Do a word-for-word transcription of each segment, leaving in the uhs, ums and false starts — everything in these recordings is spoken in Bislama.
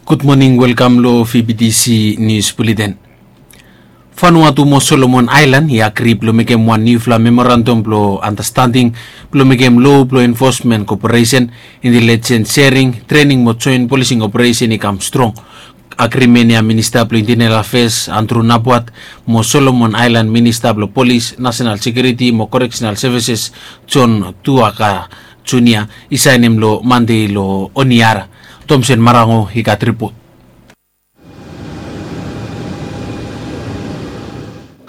Gud moning, welkam long V B T C News Bulletin. Vanuatu mo Solomon Aelan i agri blong mekem wan niufala memorandam blong andastanding blong mekem lo blong enfosmen koperesen, intelijens sering, trening mo joen polising operesen i kam strong. Agrimen ya Minista blong Intenel Afeas Andrew Napuat mo Solomon Aelan Minista blong Polis, Nasenal Sekiuriti mo Koreksenal Sevises John Tuaka Junia i saenem long Mande long Honiara. Tomsen Marango i gat ripot.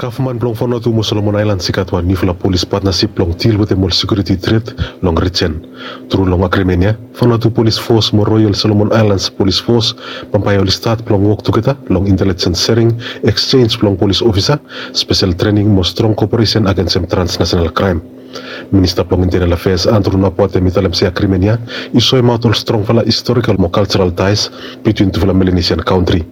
Gavman blong Vanuatu mo Solomon Aelan i gat wan niufala polis patnasip blong dil wetem ol sekiuriti tret long rijen. Tru long agrimen ya, Vanuatu Polis Fos mo Royal Solomon Aelan Polis Fos bambae oli stat blong wok tugeta long intelijens sering, eksenj blong polis ofisa, spesel trening mo strong koperesen agensem transnasenal kraem. Minista blong Intenel Afeas Andrew Napuat hem i talem se agrimen ya i soemaot ol strongfala istorikal mo kaljeral taes bitwin tufala Melanesian kantri.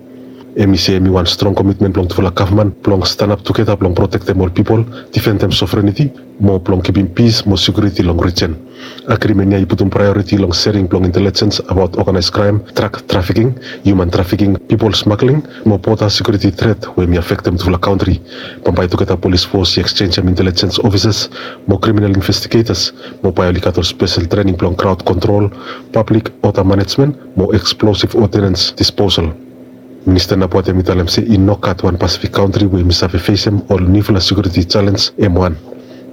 Hem i se hem i wan strong komitmen blong tufala gavman blong stanap tugeta blong protektem ol pipol, difendem sovreniti mo blong kipim pis mo sekiuriti long rijen. Agrimen ya i putum praeoriti long sering blong intelijens abaot oganaes kraem, drak trafiking, hiuman trafiking, pipol smagling mo boda sekiuriti tret we hem i afektem tufala kantri. Bambae tugeta polis fos i eksenjem intelijens ofisas mo kriminal investigetas mo bae oli gat ol spesel trening blong kraod kontrol, pablik oda manejmen mo eksplosif odinens disposal. Minista Napuat hem i talem se i no gat wan Pasifik kantri we hem i save fesem ol niufala sekiuriti jalenj hem wan.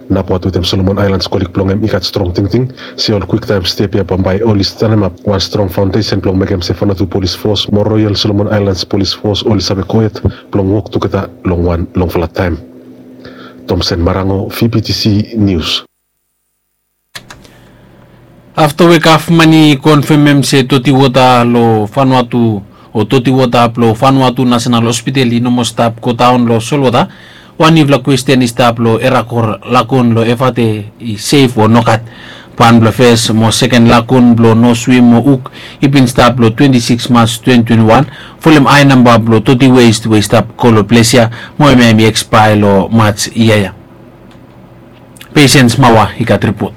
Napuat wetem Solomon Aelan kolig blong hem i gat strong tingting se ol kwiktaem step ya bambae oli stanemap wan strong faondesen blong mekem se Vanuatu Polis Fos mo Royal Solomon Aelan Polis Fos oli save gohed blong wok tugeta long wan longfala taem. Tomsen Marango, V B T C News. Afta we gavman i konfemem se doti wota long Vanuatu o doti wota blong Vanuatu Nasenal Hospital i no moa stap godaon long solwota, wan niufala kwesten i stap long Erakor Lagun long Evate i sef o nogat. Wan blong fes mo seken lagun blong no swim mo uk i bin stap long twenti sikis Mas twenti twenti wan, folem hae namba blong doti west we i stap go long ples ya mo hemia hem i ekspaea long Mas yia ya. Pesens Mawa i gat ripot.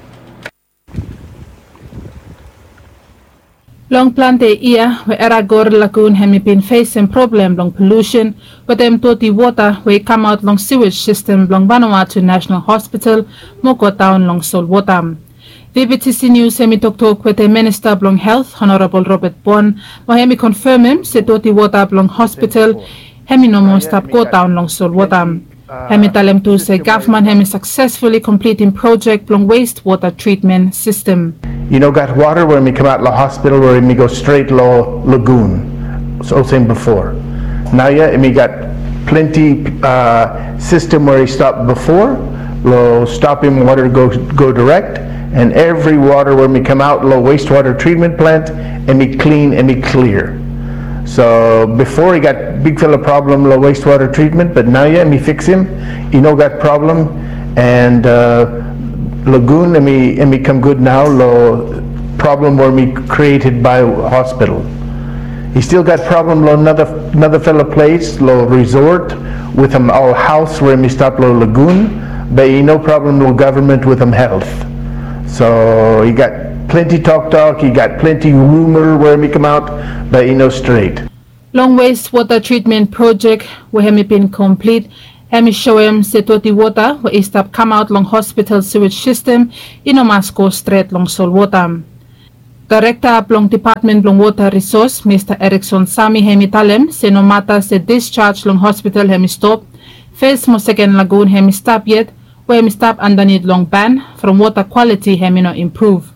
Long plante yia we Erakor Lagun hem i bin fesem problem blong polusen wetem doti wota we i kamaot long siwej sistem blong Vanuatu Nasenal Hospital mo godaon long solwota. V B T C Nius hem i toktok wetem Minista blong Helt, Honorabol Robert Bon, mo hem i konfemem se doti wota blong hospital hem i no moa stap godaon long solwota. Hem i talem tu se gavman hem i saksesfuli komplitim projek blong west wota tritmen sistem. I no gat wota we hem i kamaot long hospital we hem i go stret long lagun olsem bifo. Naoia hem i gat plante sistem we i stap bifo long stopem wota go direk, an evri wota we hem i kamaot long west wota tritmen plant hem i klin, hem i klia. So bifo i gat bigfala problem long west wota tritmen, bat naoia hem i fiksem, i no gat problem, an lagun hem i kam gud nao long problem we hem i krieted bae hospital. I stil gat problem long nara fala ples long resort wetem ol haos we hem i stap long lagun, bat i no problem long gavman wetem Helt. So i gat plante toktok, i gat plante ruma we hem i kamaot, bat i no stret. Long west wota tritmen projek we hem i bin komplit, hem i soem se doti wota we i stap kamaot long hospital siwej sistem i no mas go stret long solwota. Daerekta blong Depatmen blong Wota Risos, Mista Erikson Sami hem i talem se nomata se disjaj long hospital hem i stop, fes mo seken lagun hem i stap yet, we hem i stap andanit long ban from wota kwaliti hem i no impruv.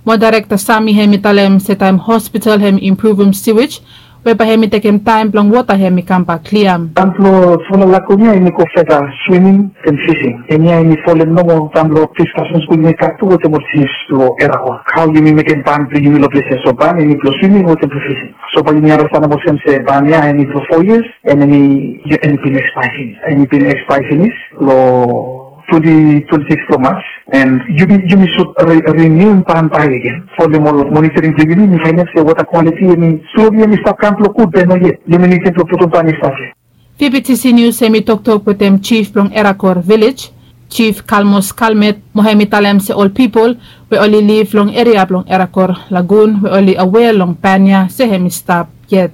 Mo Daerekta Sami hem i talem se taem hospital hem i impruvum siwej, we bae hem i tekem taem blong wota hem i kambak klia. Taem blong tufala lagun ya hem i go feta swiming an fising. Hemia hem i folem nomo taem blong diskasen skul hem i gat tu wetem ol jif blong Erakor. Hao yumi mekem ban blong yumi long ples ya, so ban hem i blong swiming wetem blong fising. So bae yumi andastanem olsem se ban ya hem i blong fo yias, an hem i bin ekspaea finis. Hem i bin ekspaea finis long twenti twenti sikis blong Mas, an yumi sud rinium ban bae agen. Folem ol monitoring blong yumi, yumi faenem se wota kwaliti hem i sloli hem i stap kam blong gud, be noyet. Yumi nidim blong putum ban i stap ya. V B T C Nius hem i toktok wetem jif blong Erakor Vilej, Jif Kalmos Kalmet, mo hem i talem se ol pipol we oli liv long eria blong Erakor Lagun we oli awea long ban ya se hem i stap yet.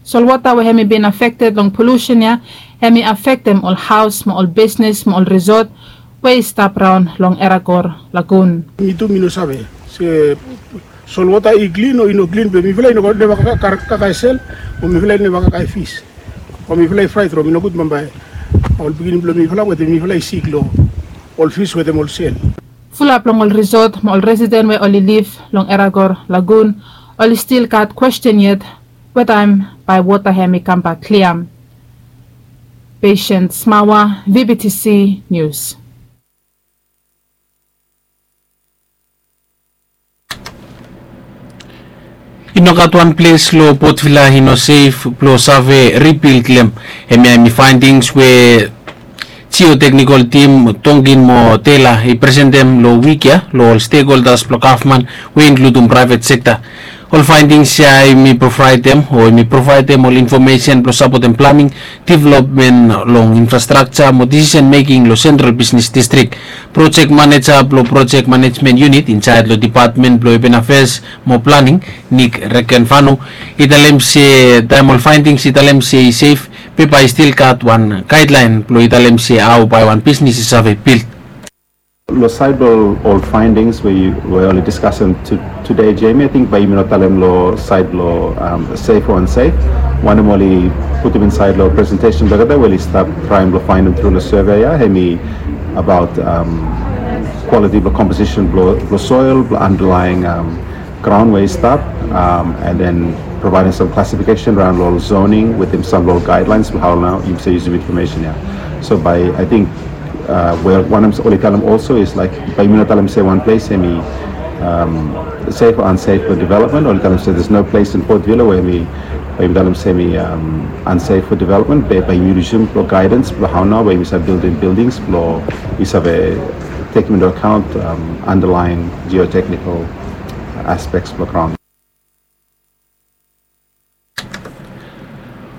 Solwota we hemi bin afekted long polusen ya, hemi afektem ol haos mo ol bisnes mo ol risot we i stap raon long Eragor Lagun. Mi tu mi no save se solwota i klin o i no klin, be mifala i no neva kakae sel, o mifala i neva kakae fis, o mifala i fraet from i nogud bambae ol pikinini blong mifala wetem mifala i sik long ol fis wetem ol sel. Fulap long ol risot mo ol residen we oli liv long Eragor Lagun oli stil gat kwesten yet we taem bae wota hemi kambak klia. Patient Smawa, V B T C News. I no gat wan ples long Port Vila i no sef blong save ribild long hem. Hemia hemi faendings we jioteknikol tim Tonkin mo Tela i presentem long wik ya long ol stekholdas blong gavman we inkludim praevet sekta. Ol faendings ya hemi provaedem o hemi provaedem ol infomesen blong sapotem planing, developmen long infrastrakja mo disisen meking long sentral bisnes distrik. Projek maneja blong projek manejmen yunit injaej long depatmen blong apen afeas mo planing, Nick Rekenfano, i talem se taem ol faendings i talem se i sef, be bae i stil gat wan gaedlaen blong i talem se hao bae wan bisnes i save bild. Long saed blong ol faendings we oli diskasem tude, Jamie, ating bae yumi no talem long saed blong sef o ansef. Wanem oli putum insaed long presentesen blong olgeta we oli stap traem blong faenem tru long survey ya, hemi abaot kwaliti blong komposisen blong soel, blong andalaen graon we i stap, and then provaedem sam klasifikesen raon long ol zoning wetem sam long ol gaedlaens blong hao nao yumi save yusum infomesen ya. So bae ating we wanem oli talem olso is laek bae yumi no talem se wan ples hemi sef o ansef blong developmen, oli talem se there's no place in Port Vila we hemi, bae yumi talem se hemi ansef for development, be bae yumi yusum blong gaedans blong hao nao bae yumi save bildim bildings blong i save tekem into account underlying geotechnical aspects blong graon.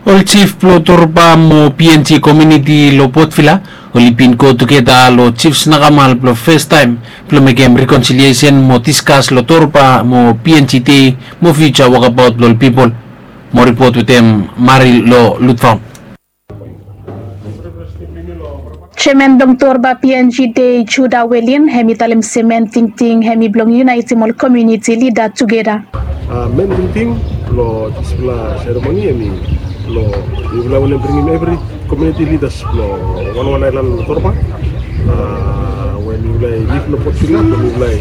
Ol jif blong Torba mo P N G komuniti long Port Vila oli bin go tugeta long Jif Snakamal blong fastaem blong mekem rekonsiliesen mo diskas long Torba mo P N G dei mo fiuja wokabaot blong ol pipol. Mo ripot wetem Mari long Lutfaon. Jeaman blong Torba P N G dei, Juda Welin, hemi talem se men tingting hemi blong yunaetem ol komuniti lida tugeta. Men tingting blong disfala seremoni hemi blong mifala wantem bringim evri komuniti lidas blong wanwan aelan long Torba we mifala i liv long Port Vila blong mifala i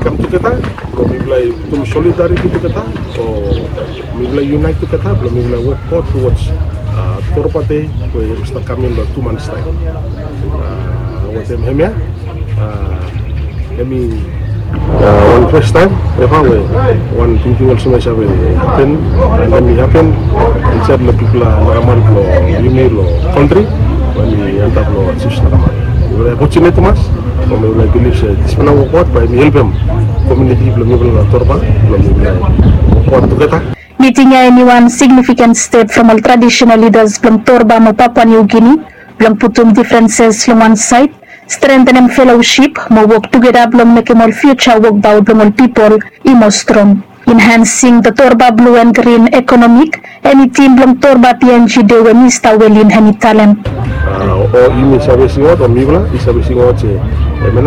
kam tugeta blong mifala i putum solidariti tugeta o mifala i yunaet tugeta blong mifala i wok god towards Torba dei we i stap kam in long tu mans taem. Wetem hemia hemi wan fastaem eva we wan tingting olsem i save hapen, and hemi hapen insaed long bigfala nakamal blong yumi long kantri we hemi antap long Jif Snakamal. Mifala i fortunate tumas, o mifala i bilif se disfala wokbaot bae hemi helpem komuniti blong mifala long Torba blong mifala i wokbaot tugeta. Miting ya hemi wan signifiken step from ol tradisenal lidas blong Torba mo Papua New Guinea blong putum difrenses long wan saed, strengtenem felosip mo wok tugeta blong mekem ol fiuja wokbaot blong ol pipol i moa strong. Enhancing the Torba Blue and Green Economic hemi tim blong Torba P N G dei we Mista Welin hemi talem. O yumi save singaot o mifala i save singaot se hemia